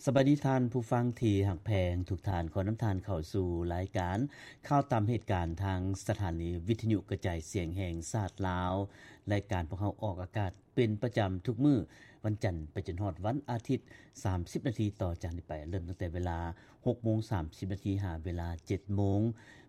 ສະບາຍດີທ່ານຜູ້ຟັງທີ່ຮັກແພງທຸກທ່ານ, ຂໍນຳທ່ານເຂົ້າສູ່ລາຍການຂ່າວຕາມເຫດການທາງສະຖານີວິທະຍຸກະຈາຍສຽງແຫ່ງຊາດລາວ. ລາຍການພວກເຮົາອອກອາກາດເປັນປະຈຳທຸກມື້ ວັນຈັນໄປຈົນຮອດວັນອາທິດ ສາມສິບນາທີຕໍ່ຈາກນີ້ໄປ, ເລີ່ມຕັ້ງແຕ່ເວລາຫົກໂມງສາມສິບນາທີ ຫາເວລາເຈັດໂມງ.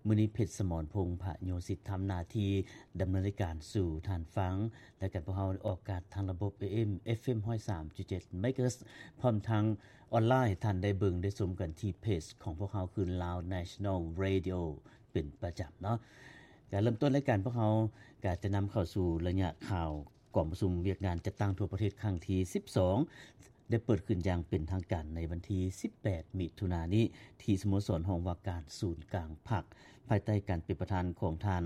ມື້ນີ້ ເພັດສະໝອນ ພົງພະໂຍສິດ ທຳໜ້າທີ່ດຳເນີນລາຍການສູ່ທ່ານຟັງ. ລາຍການພວກເຮົາອອກອາກາດທາງລະບົບ ເອເອັມ ເອຟເອັມ ຮ້ອຍສາມຈຸດເຈັດ ເມກາເຮີດ ພ້ອມທັງອອນລາຍ ໃຫ້ທ່ານໄດ້ເບິ່ງໄດ້ຊົມກັນທີ່ເພຈຂອງພວກເຮົາ ຄື Lao National Radio ເປັນປະຈຳເນາະ. ການເລີ່ມຕົ້ນລາຍການພວກເຮົາ ກາຈະນຳເຂົ້າສູ່ໄລຍະຂ່າວກອງປະຊຸມວຽກງານຈັດຕັ້ງທົ່ວປະເທດຄັ້ງທີສິບສອງ ໄດ້ເປີດຂຶ້ນຢ່າງເປັນທາງການໃນວັນທີສິບແປດ ມິຖຸນານີ້ ທີ່ສະໂມສອນຫ້ອງວ່າການສູນກາງພັກ ພາຍໃຕ້ການເປັນປະທານຂອງທ່ານ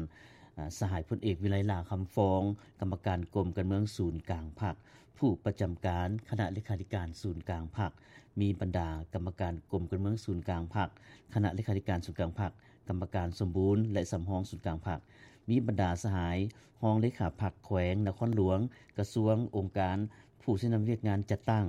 ອາ ສະຫາຍພົນເອກ ວິໄລ ຫຼ້າຄຳຟອງ ກຳມະການກົມການເມືອງສູນກາງພັກ, ຜູ້ປະຈຳການຄະນະເລຂາທິການສູນກາງພັກ, ມີບັນດາກຳມະການກົມການເມືອງສູນກາງພັກ, ຄະນະເລຂາທິການສູນກາງພັກ, ກຳມະການສົມບູນ ແລະ ສຳຮອງສູນກາງພັກ, ມີບັນດາສະຫາຍຮອງເລຂາພັກແຂວງນະຄອນຫຼວງ, ກະຊວງ, ອົງການ, ຜູ້ຊີ້ນຳວຽກງານຈັດຕັ້ງ,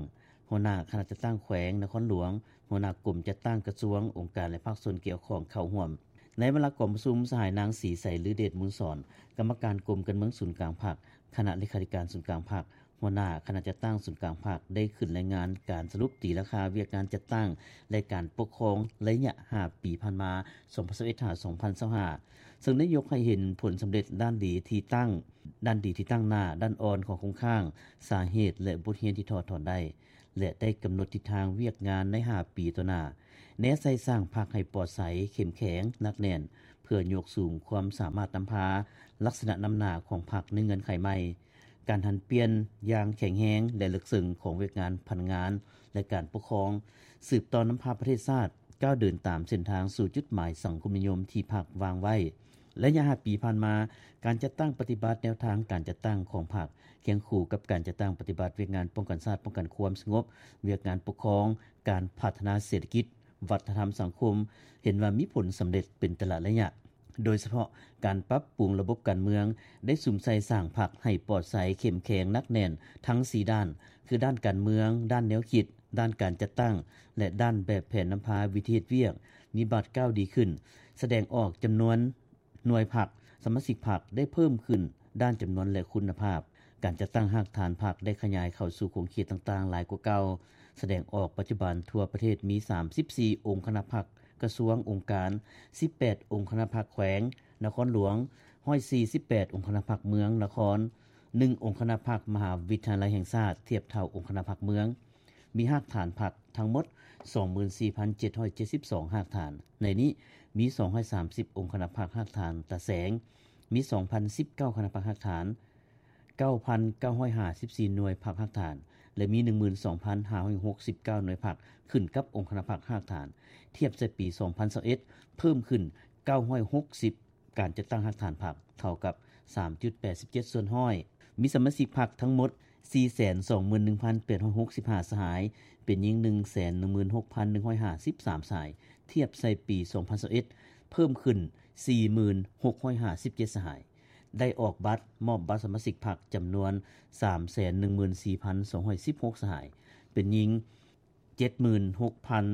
ຫົວໜ້າຄະນະຈັດຕັ້ງແຂວງນະຄອນຫຼວງ, ຫົວໜ້າກົມຈັດຕັ້ງກະຊວງ, ອົງການ ແລະ ພາກສ່ວນກ່ຽວຂ້ອງເຂົ້າຮ່ວມ. ໃນເວລາກອງປະຊຸມ, ສະຫາຍນາງ ສີໃສ ລືເດດມູນສອນ ກຳມະການກົມການເມືອງສູນກາງພັກ, ຄະນະເລຂາທິການສູນກາງພັກ, ຫົວໜ້າຄະນະຈັດຕັ້ງສູນກາງພັກ ໄດ້ຂຶ້ນລາຍງານການສະຫຼຸບຕີລາຄາວຽກງານຈັດຕັ້ງ ແລະ ການປົກຄອງໄລຍະຫ້າປີຜ່ານມາ ສອງພັນຊາວເອັດ ຫາ ສອງພັນຊາວຫ້າ ເຊິ່ງໄດ້ຍົກໃຫ້ເຫັນຜົນສຳເລັດດ້ານດີທີ່ຕັ້ງ, ດ້ານດີທີ່ຕັ້ງໜ້າ, ດ້ານອ່ອນ, ຂໍ້ຄົງຄ້າງ, ສາເຫດ ແລະ ບົດຮຽນທີ່ຖອດຖອນໄດ້ ແລະ ໄດ້ກຳນົດທິດທາງວຽກງານໃນຫ້າປີຕໍ່ໜ້າ, ແນໃສ່ສ້າງພັກໃຫ້ປອດໃສ, ເຂັ້ມແຂງ, ໜັກແໜ້ນ, ເພື່ອຍົກສູງຄວາມສາມາດນຳພາ, ລັກສະນະນຳໜ້າຂອງພັກໃນເງື່ອນໄຂໃໝ່, ການຫັນປ່ຽນຢ່າງແຂງແຮງ ແລະ ເລິກເຊິ່ງຂອງວຽກງານພະນັກງານ ແລະ ການປົກຄອງ, ສືບຕໍ່ນຳພາປະເທດຊາດ ກ້າວເດີນຕາມເສັ້ນທາງສູ່ຈຸດໝາຍສັງຄົມນິຍົມທີ່ພັກວາງໄວ້. ໄລຍະຫ້າປີຜ່ານມາ, ການຈັດຕັ້ງປະຕິບັດແນວທາງການຈັດຕັ້ງຂອງພັກ ຄຽງຄູ່ກັບການຈັດຕັ້ງປະຕິບັດວຽກງານປ້ອງກັນຊາດ, ປ້ອງກັນຄວາມສະຫງົບ, ວຽກງານປົກຄອງ, ການພັດທະນາເສດຖະກິດ, ວັດທະນະທຳສັງຄົມ ເຫັນວ່າມີຜົນສຳເລັດເປັນແຕ່ລະໄລຍະ. ໂດຍສະເພາະການປັບປຸງລະບົບການເມືອງ ໄດ້ສຸມໃສ່ສ້າງພັກໃຫ້ປອດໃສ, ເຂັ້ມແຂງ, ໜັກແໜ້ນທັງສີ່ດ້ານ ຄືດ້ານການເມືອງ, ດ້ານແນວຄິດ, ດ້ານການຈັດຕັ້ງ ແລະ ດ້ານແບບແຜນນຳພາວິທີເຮັດວຽກ ມີບາດກ້າວດີຂຶ້ນ, ສະແດງອອກຈຳນວນໜ່ວຍພັກ, ສະມາຊິກພັກໄດ້ເພີ່ມຂຶ້ນດ້ານຈຳນວນ ແລະ ຄຸນນະພາບ. ການຈັດຕັ້ງຮາກຖານພັກໄດ້ຂະຫຍາຍເຂົ້າສູ່ຂົງເຂດຕ່າງໆຫຼາຍກວ່າເກົ່າ, ສະແດງອອກປັດຈຸບັນທົ່ວປະເທດມີສາມສິບສີ່ອົງຄະນະພັກ, ກະຊວງ, ອົງການ, ສິບແປດອົງຄະນະພັກແຂວງ, ນະຄອນຫຼວງ, ຮ້ອຍສີ່ສິບແປດອົງຄະນະພັກເມືອງ, ນະຄອນ, ໜຶ່ງອົງຄະນະພັກມະຫາວິທະຍາໄລແຫ່ງຊາດ, ທຽບເທົ່າອົງຄະນະພັກເມືອງ. ມີຮາກຖານພັກທັງໝົດສອງໝື່ນສີ່ພັນເຈັດຮ້ອຍເຈັດສິບສອງຮາກຖານ, ໃນນີ້ມີສອງຮ້ອຍສາມສິບອົງຄະນະພັກຮາກຖານຕາແສງ, ມີສອງພັນສິບເກົ້າຄະນະພັກຮາກຖານ, ເກົ້າພັນເກົ້າຮ້ອຍຫ້າສິບສີ່ໜ່ວຍພັກຮາກຖານ ແລະ ມີໜຶ່ງໝື່ນສອງພັນຫ້າຮ້ອຍຫົກສິບເກົ້າໜ່ວຍພັກຂຶ້ນກັບອົງຄະນະພັກຮາກຖານ, ທຽບໃສ່ປີສອງພັນຊາວເອັດ ເພີ່ມຂຶ້ນເກົ້າຮ້ອຍຫົກສິບ ການຈັດຕັ້ງຮາກຖານພັກ ເທົ່າກັບສາມຈຸດແປດສິບເຈັດສ່ວນຮ້ອຍ. ມີສະມາຊິກພັກທັງໝົດສີ່ແສນສອງໝື່ນໜຶ່ງພັນແປດຮ້ອຍຫົກສິບຫ້າສະຫາຍ, ເປັນຍິງໜຶ່ງແສນໜຶ່ງໝື່ນຫົກພັນໜຶ່ງຮ້ອຍຫ້າສິບສາມສະຫາຍ, ທຽບໃສ່ປີສອງພັນຊາວເອັດ ເພີ່ມຂຶ້ນສີ່ໝື່ນຫົກຮ້ອຍຫ້າສິບເຈັດສະຫາຍ. ໄດ້ອອກບັດ, ມອບບັດສະມາຊິກພັກຈຳນວນສາມແສນໜຶ່ງໝື່ນສີ່ພັນສອງຮ້ອຍສິບຫົກສະຫາຍ, ເປັນຍິງເຈັດໝື່ນຫົກພັນ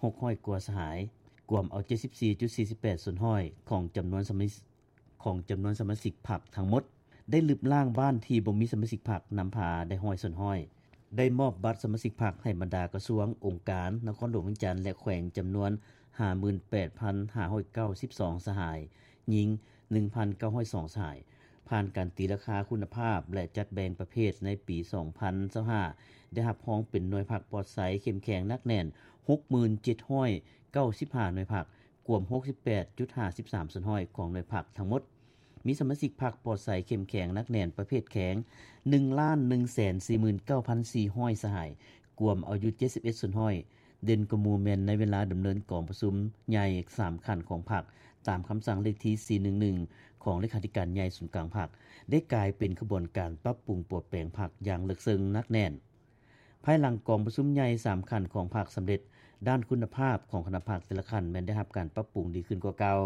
ຫົກຮ້ອຍກວ່າສະຫາຍ, ກວມເອົາເຈັດສິບສີ່ຈຸດສີ່ສິບແປດສ່ວນຮ້ອຍຂອງຈຳນວນສະມາຊິກ, ຂອງຈຳນວນສະມາຊິກພັກທັງໝົດ. ໄດ້ລຶບລ້າງບ້ານທີ່ບໍ່ມີສະມາຊິກພັກນຳພາໄດ້ຮ້ອຍສ່ວນຮ້ອຍ. ໄດ້ມອບບັດສະມາຊິກພັກໃຫ້ບັນດາກະຊວງ, ອົງການ, ນະຄອນຫຼວງວຽງຈັນ ແລະ ແຂວງ ຈຳນວນຫ້າໝື່ນແປດພັນຫ້າຮ້ອຍເກົ້າສິບສອງສະຫາຍ, ຍິງໜຶ່ງພັນເກົ້າຮ້ອຍສອງສະຫາຍ. ຜ່ານການຕີລາຄາຄຸນນະພາບ ແລະ ຈັດແບ່ງປະເພດໃນປີສອງພັນຊາວຫ້າ ໄດ້ຮັບຮອງເປັນໜ່ວຍພັກປອດໃສ, ເຂັ້ມແຂງ, ໜັກແໜ້ນ ຫົກໝື່ນເຈັດຮ້ອຍເກົ້າສິບຫ້າໜ່ວຍພັກ, ກວມຫົກສິບແປດຈຸດຫ້າສິບສາມສ່ວນຮ້ອຍຂອງໜ່ວຍພັກທັງໝົດ. ມີສະມາຊິກພັກປອດໃສ, ເຂັ້ມແຂງ, ໜັກແໜ້ນ ປະເພດແຂງ ໜຶ່ງລ້ານໜຶ່ງແສນສີ່ໝື່ນເກົ້າພັນສີ່ຮ້ອຍສະຫາຍ, ກວມເອົາຢູ່ເຈັດສິບເອັດສ່ວນຮ້ອຍ. ເດັ່ນກວ່າໝູ່ແມ່ນໃນເວລາດຳເນີນກອງປະຊຸມໃຫຍ່ສາມຂັ້ນຂອງພັກ, ຕາມຄຳສັ່ງເລກທີສີ່ໜຶ່ງໜຶ່ງຂອງເລຂາທິການໃຫຍ່ສູນກາງພັກ, ໄດ້ກາຍເປັນຂະບວນການປັບປຸງປົວແປງພັກຢ່າງເລິກເຊິ່ງໜັກແໜ້ນ. ພາຍຫຼັງກອງປະຊຸມໃຫຍ່ສາມຂັ້ນຂອງພັກສຳເລັດ, ດ້ານຄຸນນະພາບຂອງຄະນະພັກແຕ່ລະຂັ້ນແມ່ນໄດ້ຮັບການປັບປຸງດີຂຶ້ນກວ່າເກົ່າ.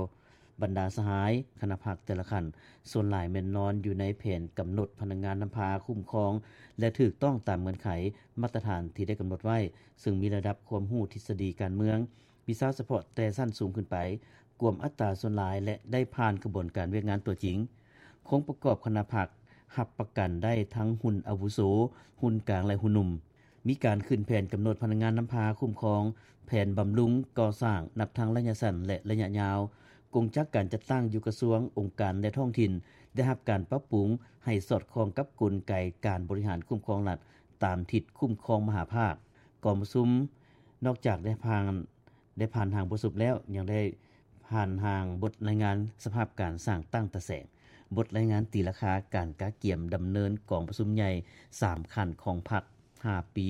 ບັນດາສະຫາຍຄະນະພັກແຕ່ລະຂັ້ນ ສ່ວນຫຼາຍແມ່ນນອນຢູ່ໃນແຜນກຳນົດພະນັກງານນຳພາຄຸ້ມຄອງ ແລະ ຖືກຕ້ອງຕາມເງື່ອນໄຂມາດຕະຖານທີ່ໄດ້ກຳນົດໄວ້, ເຊິ່ງມີລະດັບຄວາມຮູ້ທິດສະດີການເມືອງ, ວິຊາສະເພາະແຕ່ຊັ້ນສູງຂຶ້ນໄປ, ກວມອັດຕາສ່ວນຫຼາຍ ແລະ ໄດ້ຜ່ານຂະບວນການວຽກງານຕົວຈິງ. ໂຄງປະກອບຄະນະພັກຮັບປະກັນໄດ້ທັງຮຸ່ນອາວຸໂສ, ຮຸ່ນກາງ ແລະ ຮຸ່ນໜຸ່ມ. ມີການຂຶ້ນແຜນກຳນົດພະນັກງານນຳພາຄຸ້ມຄອງ, ແຜນບຳລຸງກໍ່ສ້າງນັບທັງໄລຍະສັ້ນ ແລະ ໄລຍະຍາວ. ກົງຈັກການຈັດຕັ້ງຢູ່ກະຊວງ, ອົງການ ແລະ ທ້ອງຖິ່ນ ໄດ້ຮັບການປັບປຸງໃຫ້ສອດຄ່ອງກັບກົນໄກການບໍລິຫານຄຸ້ມຄອງລັດຕາມທິດຄຸ້ມຄອງມະຫາພາກ. ກອງປະຊຸມນອກຈາກໄດ້ຜ່ານ ໄດ້ຜ່ານຮ່າງບົດສະຫຼຸບແລ້ວ ຍັງໄດ້ຜ່ານຮ່າງບົດລາຍງານສະພາບການສ້າງຕັ້ງຕາແສງ, ບົດລາຍງານຕີລາຄາການກະກຽມດຳເນີນກອງປະຊຸມໃຫຍ່ສາມຂັ້ນຂອງພັກ ຫ້າປີ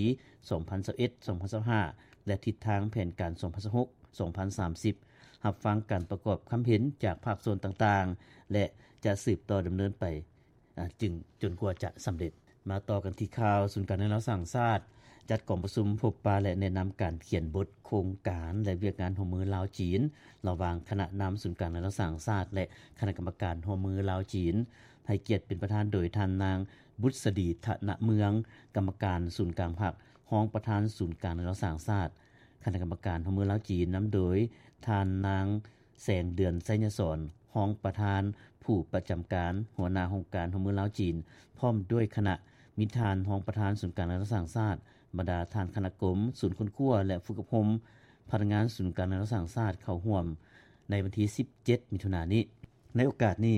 ສອງພັນຊາວເອັດ ສອງພັນຊາວຫ້າ ແລະ ທິດທາງແຜນການ ສອງພັນຊາວຫົກ ສອງພັນສາມສິບ, ຮັບຟັງການປະກອບຄຳເຫັນຈາກພາກສ່ວນຕ່າງໆ ແລະ ຈະສືບຕໍ່ດຳເນີນໄປ ອາ ຈຶ່ງຈົນກວ່າຈະສຳເລັດ. ມາຕໍ່ກັນທີ່ຂ່າວ, ສູນກາງແນວລາວສ້າງຊາດ ຈັດກອງປະຊຸມພົບປະ ແລະ ແນະນຳການຂຽນບົດໂຄງການ ແລະ ວຽກງານຮ່ວມມືລາວ-ຈີນ ລະຫວ່າງຄະນະນຳສູນກາງແນວລາວສ້າງຊາດ ແລະ ຄະນະກຳມະການຮ່ວມມືລາວ-ຈີນ, ໃຫ້ກຽດເປັນປະທານໂດຍທ່ານນາງ ບຸດສະດີ ທະນະເມືອງ, ກຳມະການສູນກາງພັກ, ຮອງປະທານສູນກາງແນວລາວສ້າງຊາດ, ຄະນະກຳມະການຮ່ວມມືລາວ-ຈີນ ນຳໂດຍທ່ານນາງ ແສງເດືອນ ໄຊຍະສອນ, ຮອງປະທານຜູ້ປະຈຳການ, ຫົວໜ້າຫ້ອງການຮ່ວມມືລາວ-ຈີນ ພ້ອມດ້ວຍຄະນະ, ມີທ່ານຮອງປະທານສູນກາງແນວລາວສ້າງຊາດ, ບັນດາທ່ານຄະນະກົມ, ສູນຄົ້ນຄວ້າ ແລະ ຝຶກອົບຮົມພະນັກງານສູນກາງແນວລາວສ້າງຊາດ ເຂົ້າຮ່ວມໃນວັນທີສິບເຈັດ ມິຖຸນານີ້. ໃນໂອກາດນີ້,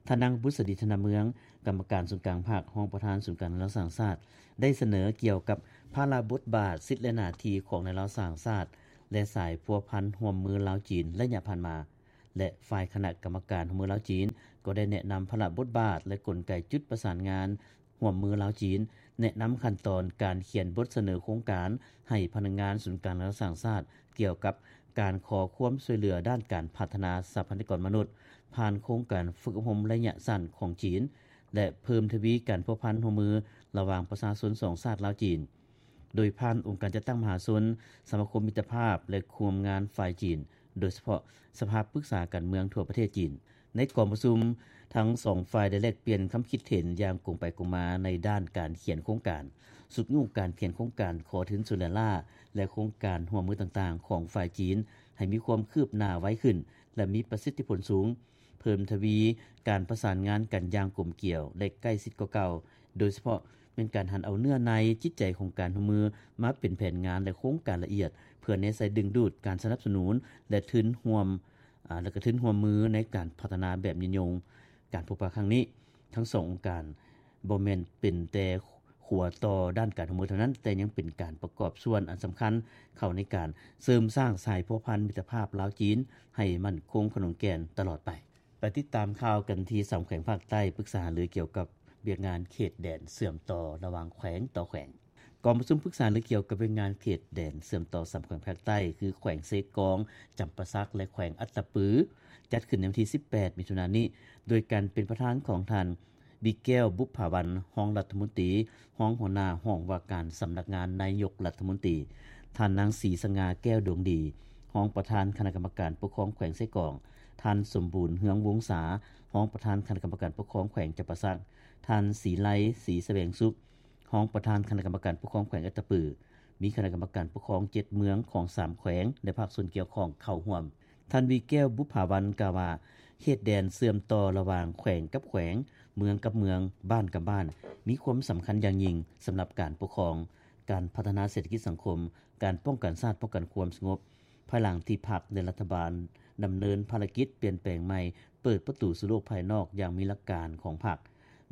ທ່ານນາງ ບຸດສະດີ ທະນະເມືອງ, ກຳມະການສູນກາງພັກ, ຮອງປະທານສູນກາງແນວລາວສ້າງຊາດ ໄດ້ສະເໜີກ່ຽວກັບພາລະບົດບາດ, ສິດ ແລະ ໜ້າທີ່ຂອງແນວລາວສ້າງຊາດ ແລະ ສາຍພົວພັນຮ່ວມມືລາວ-ຈີນໄລຍະຜ່ານມາ ແລະ ຝ່າຍຄະນະກຳມະການຮ່ວມມືລາວ-ຈີນ ກໍໄດ້ແນະນຳພາລະບົດບາດ ແລະ ກົນໄກຈຸດປະສານງານຮ່ວມມືລາວ-ຈີນ, ແນະນຳຂັ້ນຕອນການຂຽນບົດສະເໜີໂຄງການໃຫ້ພະນັກງານສູນກາງແນວລາວສ້າງຊາດ ກ່ຽວກັບການຂໍຄວາມຊ່ວຍເຫຼືອດ້ານການພັດທະນາຊັບພະຍາກອນມະນຸດ ຜ່ານໂຄງການຝຶກອົບຮົມໄລຍະສັ້ນຂອງຈີນ ແລະ ເພີ່ມທະວີການພົວພັນຮ່ວມມືລະຫວ່າງປະຊາຊົນສອງຊາດລາວ-ຈີນ ໂດຍຜ່ານອົງການຈັດຕັ້ງມະຫາຊົນ, ສະມາຄົມມິດຕະພາບ ແລະ ຄູ່ຮ່ວມງານຝ່າຍຈີນ, ໂດຍສະເພາະສະພາປຶກສາການເມືອງທົ່ວປະເທດຈີນ. ໃນກອງປະຊຸມ, ທັງສອງຝ່າຍໄດ້ແລກປ່ຽນຄຳຄິດເຫັນຢ່າງກົງໄປກົງມາໃນດ້ານການຂຽນໂຄງການ, ຊຸກຍູ້ການຂຽນໂຄງການຂໍທຶນຊ່ວຍເຫຼືອລ້າ ແລະ ໂຄງການຮ່ວມມືຕ່າງໆຂອງຝ່າຍຈີນ ໃຫ້ມີຄວາມຄືບໜ້າໄວຂຶ້ນ ແລະ ມີປະສິດທິຜົນສູງ, ເພີ່ມທະວີການປະສານງານກັນຢ່າງກົມກຽວ ແລະ ໃກ້ຊິດກວ່າເກົ່າ, ໂດຍສະເພາະແມ່ນການຫັນເອົາເນື້ອໃນຈິດໃຈຂອງການຮ່ວມມືມາເປັນແຜນງານ ແລະ ໂຄງການລະອຽດ ເພື່ອແນໃສ່ດຶງດູດການສະໜັບສະໜູນ ແລະ ທຶນຮ່ວມ ອາ ແລະ ກະທຶນຮ່ວມມືໃນການພັດທະນາແບບຍືນຍົງ. ການພົບປະຄັ້ງນີ້ ທັງສອງອົງການບໍ່ແມ່ນເປັນແຕ່ຂົວຕໍ່ດ້ານການຮ່ວມມືເທົ່ານັ້ນ, ແຕ່ຍັງເປັນການປະກອບສ່ວນອັນສຳຄັນເຂົ້າໃນການເສີມສ້າງສາຍພົວພັນມິດຕະພາບລາວ-ຈີນ ໃຫ້ໝັ້ນຄົງຂະໜົງແກ່ນຕະຫຼອດໄປ. ໄປຕິດຕາມຂ່າວກັນທີ່ສາມແຂວງພາກໃຕ້ ປຶກສາຫາລືກ່ຽວກັບວຽກງານເຂດແດນເຊື່ອມຕໍ່ລະຫວ່າງແຂວງຕໍ່ແຂວງ. ກອງປະຊຸມປຶກສາຫາລືກ່ຽວກັບວຽກງານເຂດແດນເຊື່ອມຕໍ່ສາມແຂວງພາກໃຕ້ ຄື ແຂວງເຊກອງ, ຈຳປາສັກ ແລະ ແຂວງອັດຕະປື ຈັດຂຶ້ນໃນວັນທີສິບແປດ ມິຖຸນານີ້ ໂດຍການເປັນປະທານຂອງທ່ານ ບີແກ້ວ ບຸບຜາວັນ ຮອງລັດຖະມົນຕີ, ຮອງຫົວໜ້າຫ້ອງວ່າການສຳນັກງານນາຍົກລັດຖະມົນຕີ, ທ່ານນາງ ສີສະຫງ່າ ແກ້ວດວງດີ ຮອງປະທານຄະນະກຳມະການປົກຄອງແຂວງເຊກອງ, ທ່ານ ສົມບູນ ເຮືອງວົງສາ ຮອງປະທານຄະນະກຳມະການປົກຄອງແຂວງຈຳປາສັກ, ທ່ານ ສີໄລ ສີສະແຫວງສຸກ ຮອງປະທານຄະນະກຳມະການປົກຄອງແຂວງອັດຕະປື, ມີຄະນະກຳມະການປົກຄອງເຈັດເມືອງຂອງສາມແຂວງ ແລະ ພາກສ່ວນກ່ຽວຂ້ອງເຂົ້າຮ່ວມ. ທ່ານ ວີແກ້ວ ບຸບຜາວັນ ກ່າວວ່າ ເຂດແດນເຊື່ອມຕໍ່ລະຫວ່າງແຂວງກັບແຂວງ, ເມືອງກັບເມືອງ, ບ້ານກັບບ້ານ ມີຄວາມສຳຄັນຢ່າງຍິ່ງສຳລັບການປົກຄອງ, ການພັດທະນາເສດຖະກິດສັງຄົມ, ການປ້ອງກັນຊາດ, ປ້ອງກັນຄວາມສະຫງົບ. ພາຍຫຼັງທີ່ພັກ ແລະ ລັດຖະບານດຳເນີນພາລະກິດປ່ຽນແປງໃໝ່, ເປີດປະຕູສູ່ໂລກພາຍນອກຢ່າງມີຫຼັກການຂອງພັກ,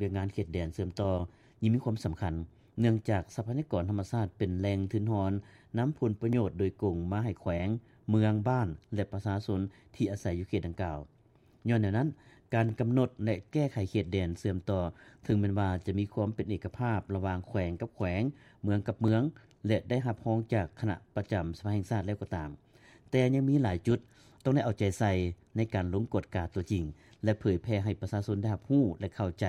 ວຽກງານເຂດແດນເຊື່ອມຕໍ່ ຍິ່ງມີຄວາມສຳຄັນ ເນື່ອງຈາກຊັບພະຍາກອນທຳມະຊາດເປັນແຫຼ່ງທຶນຮອນ ນຳຜົນປະໂຫຍດໂດຍກົງມາໃຫ້ແຂວງ, ເມືອງ, ບ້ານ ແລະ ປະຊາຊົນທີ່ອາໄສຢູ່ເຂດດັ່ງກ່າວ. ຍ້ອນແນວນັ້ນ, ການກຳນົດ ແລະ ແກ້ໄຂເຂດແດນເຊື່ອມຕໍ່ ເຖິງແມ່ນວ່າຈະມີຄວາມເປັນເອກະພາບລະຫວ່າງແຂວງກັບແຂວງ, ເມືອງກັບເມືອງ ແລະ ໄດ້ຮັບຮອງຈາກຄະນະປະຈຳສະພາແຫ່ງຊາດແລ້ວກໍຕາມ, ແຕ່ຍັງມີຫຼາຍຈຸດຕ້ອງໄດ້ເອົາໃຈໃສ່ໃນການລົງກວດກາຕົວຈິງ ແລະ ເຜີຍແຜ່ໃຫ້ປະຊາຊົນໄດ້ຮັບຮູ້ ແລະ ເຂົ້າໃຈ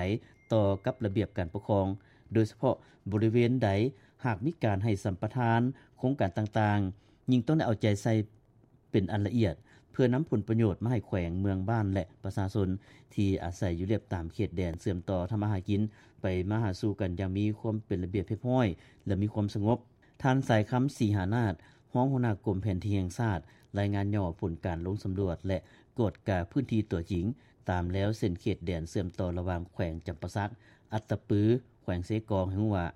ຕໍ່ກັບລະບຽບການປົກຄອງ, ໂດຍສະເພາະບໍລິເວນໃດຫາກມີການໃຫ້ສຳປະທານໂຄງການຕ່າງໆ, ຍິ່ງຕ້ອງໄດ້ເອົາໃຈໃສ່ເປັນອັນລະອຽດ ເ ພື່ອນຳຜົນປະໂຫຍດມາໃຫ້ແຂວງ, ເມືອງ, ບ້ານ ແລະ ປະຊາຊົນທີ່ອາໄສຢູ່ລຽບຕາມເຂດແດນເຊື່ອມຕໍ່ທຳມາຫາກິນ ໄປມາຫາສູ່ກັນຢ່າງມີຄວາມເປັນລະບຽບຮຽບຮ້ອຍ ແລະ ມີຄວາມສະຫງົບ. ທ່ານ ສາຍຄຳ ສີຫານາດ, ຮອງຫົວໜ້າກົມແຜນທີ່ແຫ່ງຊາດ, ລາຍງານຫຍໍ້ຜົນການລົງສຳຫຼວດ ແລະ ກວດກາພື້ນທີ່ຕົວຈິງ ຕາມແລວເສັ້ນເຂດແດນເຊື່ອມຕໍ່ລະຫວ່າງແຂວງຈຳປາສັກ, ອັດຕະປື, ແຂວງເຊກອງ ໃຫ້ຮູ້ວ່າ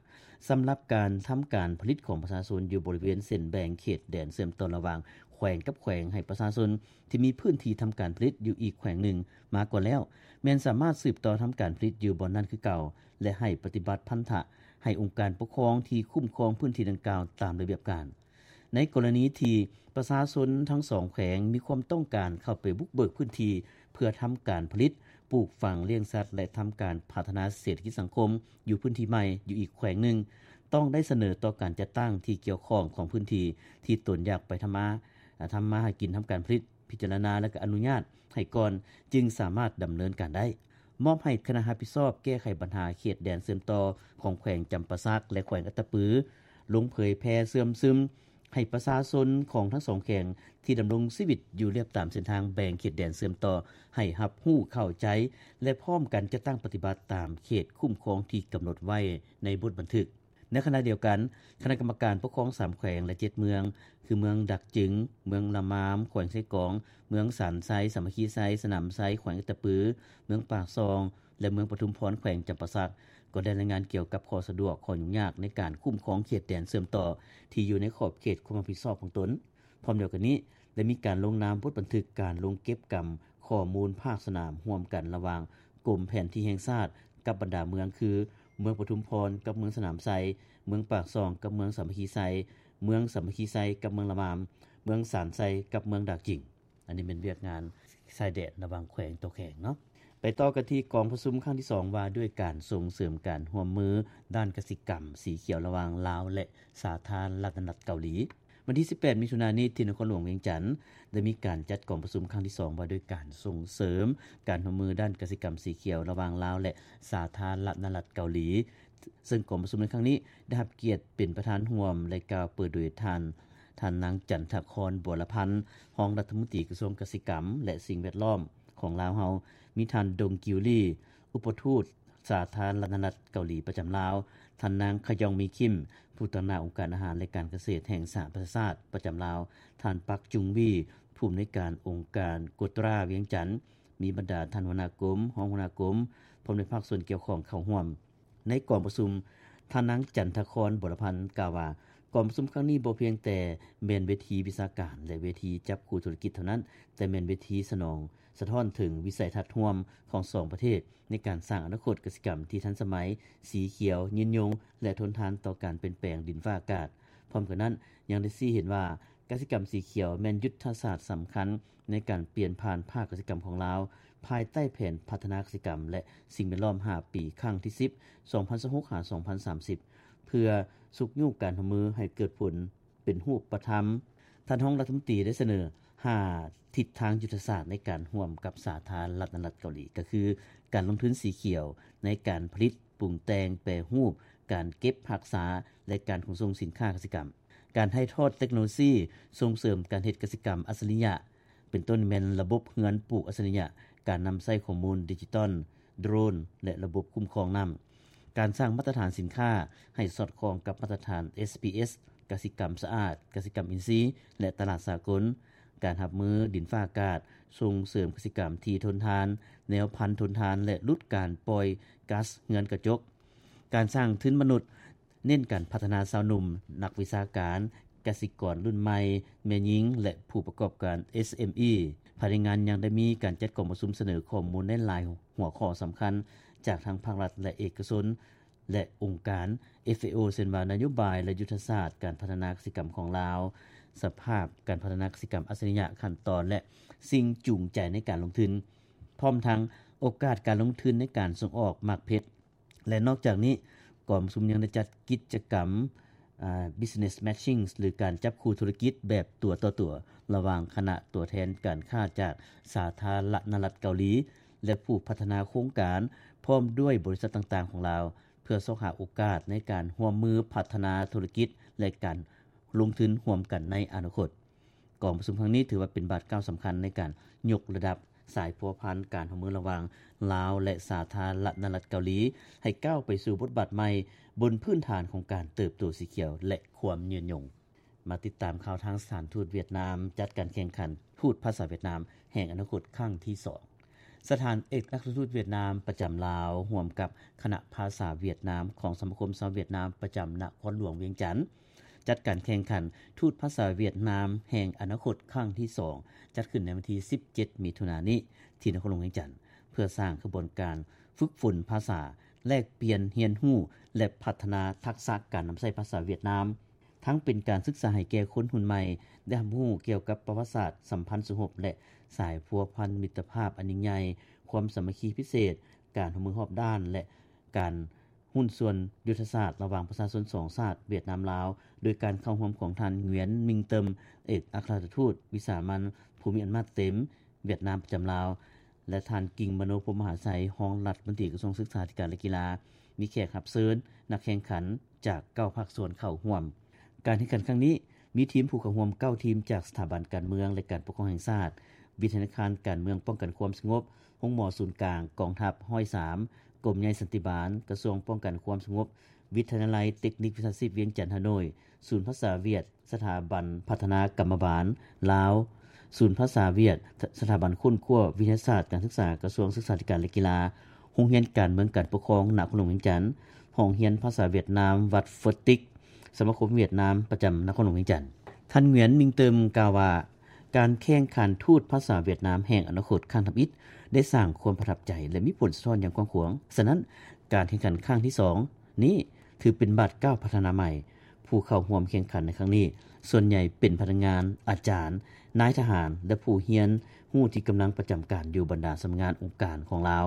ສຳລັບການທຳການຜະລິດຂອງປະຊາຊົນຢູ່ບໍລິເວນເສັ້ນແບ່ງເຂດແດນເຊື່ອມຕໍ່ລະຫວ່າງແຂວງກັບແຂວງ ໃຫ້ປະຊາຊົນທີ່ມີພື້ນທີ່ທຳການຜະລິດຢູ່ອີກແຂວງໜຶ່ງມາກ່ອນແລ້ວ ແມ່ນສາມາດສືບຕໍ່ທຳການຜະລິດຢູ່ບ່ອນນັ້ນຄືເກົ່າ ແລະ ໃຫ້ປະຕິບັດພັນທະໃຫ້ອົງການປົກຄອງທີ່ຄຸ້ມຄອງພື້ນທີ່ດັ່ງກ່າວຕາມລະບຽບການ. ໃນກໍລະນີທີ່ປະຊາຊົນທັງສອງແຂວງມີຄວາມຕ້ອງການເຂົ້າໄປບຸກເບີກພື້ນທີ່ເພື່ອທຳການຜະລິດ, ປູກຝັງ, ລ້ຽງສັດ ແລະ ທຳການພັດທະນາເສດຖະກິດສັງຄົມຢູ່ພື້ນທີ່ໃໝ່ຢູ່ອີກແຂວງໜຶ່ງ, ຕ້ອງໄດ້ສະເໜີຕໍ່ການຈັດຕັ້ງທີ່ກ່ຽວຂ້ອງຂອງພື້ນທີ່ທີ່ຕົນຢາກໄປທຳມາ ທຳມາຫາກິນ, ທຳການຜະລິດ, ພິຈາລະນາ ແລະ ອະນຸຍາດໃຫ້ກ່ອນ ຈຶ່ງສາມາດດຳເນີນການໄດ້. ມອບໃຫ້ຄະນະຮັບຜິດຊອບແກ້ໄຂບັນຫາເຂດແດນເຊື່ອມຕໍ່ຂອງແຂວງຈຳປາສັກ ແລະ ແຂວງອັດຕະປື ລົງເຜີຍແຜ່ເຊື່ອມຊຶມໃຫ້ປະຊາຊົນຂອງທັງສອງແຂວງທີ່ດຳລົງຊີວິດຢູ່ລຽບຕາມເສັ້ນທາງແບ່ງເຂດແດນເຊື່ອມຕໍ່ ໃຫ້ຮັບຮູ້ເຂົ້າໃຈ ແລະ ພ້ອມກັນຈັດຕັ້ງປະຕິບັດຕາມເຂດຄຸ້ມຄອງທີ່ກຳນົດໄວ້ໃນບົດບັນທຶກ. ໃນຂະນະດຽວກັນ, ຄະນະກຳມະການປົກຄອງສາມແຂວງ ແລະ ເຈັດເມືອງ ຄື ເມືອງດາກຈຶງ, ເມືອງລະມາມ ແຂວງເຊກອງ, ເມືອງສານໄຊ, ສາມັກຄີໄຊ, ສະໜາມໄຊ ແຂວງອັດຕະປື, ເມືອງປາກຊ່ອງ ແລະ ເມືອງປະທຸມພອນ ແຂວງຈຳປາສັກ ກໍໄດ້ລາຍງານກ່ຽວກັບຂໍ້ສະດວກ, ຂໍ້ຫຍຸ້ງຍາກໃນການຄຸ້ມຄອງເຂດແດນເຊື່ອມຕໍ່ທີ່ຢູ່ໃນຂອບເຂດຄວາມຮັບຜິດຊອບຂອງຕົນ. ພ້ອມດຽວກັນນີ້, ໄດ້ມີການລົງນາມບົດບັນທຶກການລົງເກັບກຳຂໍ້ມູນພາກສະໜາມຮ່ວມກັນລະຫວ່າງກົມແຜນທີ່ແຫ່ງຊາດກັບບັນດາເມືອງ ຄື ເມືອງປະທຸມພອນກັບເມືອງສະໜາມໄຊ, ເມືອງປາກຊ່ອງກັບເມືອງສາມັກຄີໄຊ, ເມືອງສາມັກຄີໄຊກັບເມືອງລະມາມ, ເມືອງສານໄຊກັບເມືອງດາກຈຶງ. ອັນນີ້ແມ່ນວຽກງານຊາຍແດນລະຫວ່າງແຂວງຕໍ່ແຂວງເນາະ. ໄປຕໍ່ກັນທີ່ກອງປະຊຸມຄັ້ງທີສອງ ວ່າດ້ວຍການສົ່ງເສີມການຮ່ວມມືດ້ານກະສິກຳສີຂຽວລະຫວ່າງລາວ ແລະ ສາທາລະນະລັດເກົາຫຼີ. ວັນທີສິບແປດ ມິຖຸນານີ້ ທີ່ນະຄອນຫຼວງວຽງຈັນ ໄດ້ມີການຈັດກອງປະຊຸມຄັ້ງທີສອງ ວ່າດ້ວຍການສົ່ງເສີມການຮ່ວມມືດ້ານກະສິກຳສີຂຽວລະຫວ່າງລາວ ແລະ ສາທາລະນະລັດເກົາຫຼີ. ເຊິ່ງກອງປະຊຸມໃນຄັ້ງນີ້ໄດ້ຮັບກຽດເປັນປະທານຮ່ວມ ແລະ ກ່າວເປີດໂດຍທ່ານ ທ່ານນາງ ຈັນທະຄອນ ບົວລະພັນ ຮອງລັດຖະມົນຕີກະຊວງກະສິກຳ ແລະ ສິ່ງແວດລ້ອມຂອງລາວເຮົາ, ມີທ່ານ ດົງ ກິວລີ ອຸປະທູດສາທາລະນະລັດເກົາຫຼີປະຈຳລາວ, ທ່ານນາງ ຂະຢອງ ມີຄິມ ຜູ້ຕາງໜ້າອົງການອາຫານ ແລະ ການກະເສດແຫ່ງສະຫະປະຊາຊາດປະຈຳລາວ, ທ່ານ ປັກ ຈຸງວີ ຜູ້ອຳນວຍການອົງການໂກຕຣາວຽງຈັນ, ມີບັນດາທ່ານຫົວໜ້າກົມ, ຮອງຫົວໜ້າກົມ, ພ້ອມດ້ວຍພາກສ່ວນກ່ຽວຂ້ອງເຂົ້າຮ່ວມ. ໃນກອງປະຊຸມ, ທ່ານນາງ ຈັນທະຄອນ ບົວລະພັນ ກ່າວວ່າ ກອງປະຊຸມຄັ້ງນີ້ບໍ່ພຽງແຕ່ແມ່ນເວທີວິຊາການ ແລະ ເວທີຈັບຄູ່ທຸລະກິດເທົ່ານັ້ນ, ແຕ່ແມ່ນເວທີສະໜອງ ສະທ້ອນເຖິງວິໄສທັດຮ່ວມຂອງສອງປະເທດ ໃນການສ້າງອະນາຄົດກະສິກຳທີ່ທັນສະໄໝ, ສີຂຽວ, ຍືນຍົງ ແລະ ທົນທານຕໍ່ການປ່ຽນແປງດິນຟ້າອາກາດ. ພ້ອມກັນນັ້ນ, ຍັງໄດ້ຊີ້ເຫັນວ່າ ກະສິກຳສີຂຽວແມ່ນຍຸດທະສາດສຳຄັນໃນການປ່ຽນຜ່ານພາກກະສິກຳຂອງລາວ ພາຍໃຕ້ແຜນພັດທະນາກະສິກຳ ແລະ ສິ່ງແວດລ້ອມຫ້າປີ ຄັ້ງທີສິບ ສອງພັນຊາວຫົກ ຫາ ສອງພັນສາມສິບ ເພື່ອຊຸກຍູ້ການຮ່ວມມືໃຫ້ເກີດຜົນເປັນຮູບປະທຳ. ທ່ານຮອງລັດຖະມົນຕີໄດ້ສະເໜີຫ້າທິດທາງຍຸດທະສາດໃນການຮ່ວມກັບສາທາລະນະລັດເກົາຫຼີ ກໍຄື ການລົງທຶນສີຂຽວໃນການຜະລິດ, ປຸງແຕ່ງ, ແປຮູບ, ການເກັບຮັກສາ ແລະ ການຂົນສົ່ງສິນຄ້າກະສິກຳ. ການຖ່າຍທອດເຕັກໂນໂລຊີສົ່ງເສີມການເຮັດກະສິກຳອັດສະລິຍະ ເປັນຕົ້ນແມ່ນລະບົບເຮືອນປູກອັດສະລິຍະ, ການນຳໃຊ້ຂໍ້ມູນດິຈິຕອນ, ໂດຣນ ແລະ ລະບົບຄຸ້ມຄອງນ້ຳ, ການສ້າງມາດຕະຖານສິນຄ້າໃຫ້ສອດຄ່ອງກັບມາດຕະຖານ ເອສພີເອສ, ກະສິກຳສະອາດ, ກະສິກຳອິນຊີ ແລະ ຕະຫຼາດສາກົນ, ການຮັບມືດິນຟ້າອາກາດ, ສົ່ງເສີມກະສິກຳທີ່ທົນທານ, ແນວພັນທົນທານ ແລະ ຫຼຸດການປ່ອຍກາສເຮືອນກະຈົກ, ການສ້າງທຶນມະນຸດ, ເນັ້ນການພັດທະນາຊາວໜຸ່ມ, ນັກວິຊາການ, ກະສິກອນລຸ້ນໃໝ່, ແມ່ຍິງ ແລະ ຜູ້ປະກອບການ ເອສເອັມອີ. ພາຍໃນງານຍັງໄດ້ມີການຈັດກອງປະຊຸມສະເໜີຂໍ້ມູນໃນຫຼາຍຫົວຂໍ້ສຳຄັນ ຈາກທັງພາກລັດ ແລະ ເອກະຊົນ ແລະ ອົງການ ເອຟເອໂອ ເຊັ່ນວ່າ ນະໂຍບາຍ ແລະ ຍຸດທະສາດການພັດທະນາກະສິກຳຂອງລາວ, ສະພາບການພັດທະນາກະສິກຳອັດສະລິຍະ, ຂັ້ນຕອນ ແລະ ສິ່ງຈູງໃຈໃນການລົງທຶນ, ພ້ອມທັງໂອກາດການລົງທຶນໃນການສົ່ງອອກໝາກເພັດ. ແລະ ນອກຈາກນີ້, ກອງປະຊຸມຍັງໄດ້ຈັດກິດຈະກຳ ອາ Business Matching ຫຼື ການຈັບຄູ່ທຸລະກິດແບບຕົວຕໍ່ຕົວ ລະຫວ່າງຄະນະຕົວແທນການຄ້າຈາກສາທາລະນະລັດເກົາຫຼີ ແລະ ຜູ້ພັດທະນາໂຄງການ ພ້ອມດ້ວຍບໍລິສັດຕ່າງໆຂອງລາວ ເພື່ອຊອກຫາໂອກາດໃນການຮ່ວມມືພັດທະນາທຸລະກິດ ແລະ ການລົງທຶນຮ່ວມກັນໃນອະນາຄົດ. ກອງປະຊຸມຄັ້ງນີ້ຖືວ່າເປັນບາດກ້າວສຳຄັນໃນການຍົກລະດັບສາຍພົວພັນການຮ່ວມມືລະຫວ່າງລາວ ແລະ ສາທາລະນະລັດເກົາຫຼີ ໃຫ້ກ້າວໄປສູ່ບົດບາດໃໝ່ ບົນພື້ນຖານຂອງການເຕີບໂຕສີຂຽວ ແລະ ຄວາມຍືນຍົງ. ມາຕິດຕາມຂ່າວທາງສະຖານທູດຫວຽດນາມ ຈັດການແຂ່ງຂັນທູດພາສາຫວຽດນາມແຫ່ງອະນາຄົດຄັ້ງທີສອງ. ສະຖານເອກອັກຄະລັດທູດຫວຽດນາມປະຈຳລາວ ຮ່ວມກັບຄະນະພາສາຫວຽດນາມຂອງສະມາຄົມຊາວຫວຽດນາມປະຈຳນະຄອນຫຼວງວຽງຈັນ ຈັດການແຂ່ງຂັນທູດພາສາຫວຽດນາມແຫ່ງອະນາຄົດຄັ້ງທີສອງ ຈັດຂຶ້ນໃນວັນທີສິບເຈັດ ມິຖຸນານີ້ ທີ່ນະຄອນຫຼວງວຽງຈັນ ເພື່ອສ້າງຂະບວນການຝຶກຝົນພາສາ, ແລກປ່ຽນຮຽນຮູ້ ແລະ ພັດທະນາທັກສະການນຳໃຊ້ພາສາຫວຽດນາມ, ທັງເປັນການສຶກສາໃຫ້ແກ່ຄົນຮຸ່ນໃໝ່ໄດ້ຮັບຮູ້ກ່ຽວກັບປະຫວັດສາດສຳພັນສະຫົບ ແລະ ສາຍພົວພັນມິດຕະພາບອັນຍິ່ງໃຫຍ່, ຄວາມສາມັກຄີພິເສດ, ການຮ່ວມມືຮອບດ້ານ ແລະ ການ ຫຸ້ນສ່ວນຍຸດທະສາດລະຫວ່າງປະຊາຊົນສອງຊາດ ຫວຽດນາມ-ລາວ ໂດຍການເຂົ້າຮ່ວມຂອງທ່ານ ຫງວຽນ ມິງເຕີມ ເອກອັກຄະລັດທູດວິສາມັນ ຜູ້ມີອຳນາດເຕັມຫວຽດນາມປະຈຳລາວ ແລະ ທ່ານ ກິງ ມະໂນພົມມະຫາໄຊ ຮອງລັດຖະມົນຕີກະຊວງສຶກສາທິການ ແລະ ກິລາ, ມີແຂກຮັບເຊີນ ນັກແຂ່ງຂັນຈາກເກົ້າພາກສ່ວນເຂົ້າຮ່ວມ. ການແຂ່ງຂັນຄັ້ງນີ້ ມີທີມຜູ້ເຂົ້າຮ່ວມເກົ້າທີມ ຈາກສະຖາບັນການເມືອງ ແລະ ການປົກຄອງແຫ່ງຊາດ, ວິທະຍາຄານການເມືອງປ້ອງກັນຄວາມສະຫງົບ, ໂຮງໝໍສູນກາງກອງທັບຮ້ອຍສາມ, ກົມໃຫຍ່ສັນຕິບານ, ກະຊວງປ້ອງກັນຄວາມສະຫງົບ, ວິທະຍາໄລເຕັກນິກວິຊາຊີບວຽງຈັນ ຮ່າໂນ້ຍ, ສູນພາສາຫວຽດ, ສະຖາບັນພັດທະນາກຳມະບານລາວ, ສູນພາສາຫວຽດ, ສະຖາບັນຄົ້ນຄວ້າວິທະຍາສາດການສຶກສາ, ກະຊວງສຶກສາທິການ ແລະ ກິລາ, ໂຮງຮຽນການເມືອງການປົກຄອງນະຄອນຫຼວງວຽງຈັນ, ຫ້ອງຮຽນພາສາຫວຽດນາມວັດເຟີດຕິກ, ສະມາຄົມຫວຽດນາມປະຈຳນະຄອນຫຼວງວຽງຈັນ. ທ່ານ ຫງວຽນ ມິງເຕີມ ກ່າວວ່າ ການແຂ່ງຂັນທູດພາສາຫວຽດນາມແຫ່ງອະນາຄົດຄັ້ງທຳອິດ ໄດ້ສ້າງຄວາມປະທັບໃຈ ແລະ ມີຜົນສະທ້ອນຢ່າງກວ້າງຂວາງ. ສະນັ້ນ, ການແຂ່ງຂັນຄັ້ງທີສອງນີ້ ຖືເປັນບາດກ້າວພັດທະນາໃໝ່. ຜູ້ເຂົ້າຮ່ວມແຂ່ງຂັນໃນຄັ້ງນີ້ ສ່ວນໃຫຍ່ເປັນພະນັກງານ, ອາຈານ, ນາຍທະຫານ ແລະ ຜູ້ຮຽນຮູ້ທີ່ກຳລັງປະຈຳການຢູ່ບັນດາສຳນັກງານອົງການຂອງລາວ.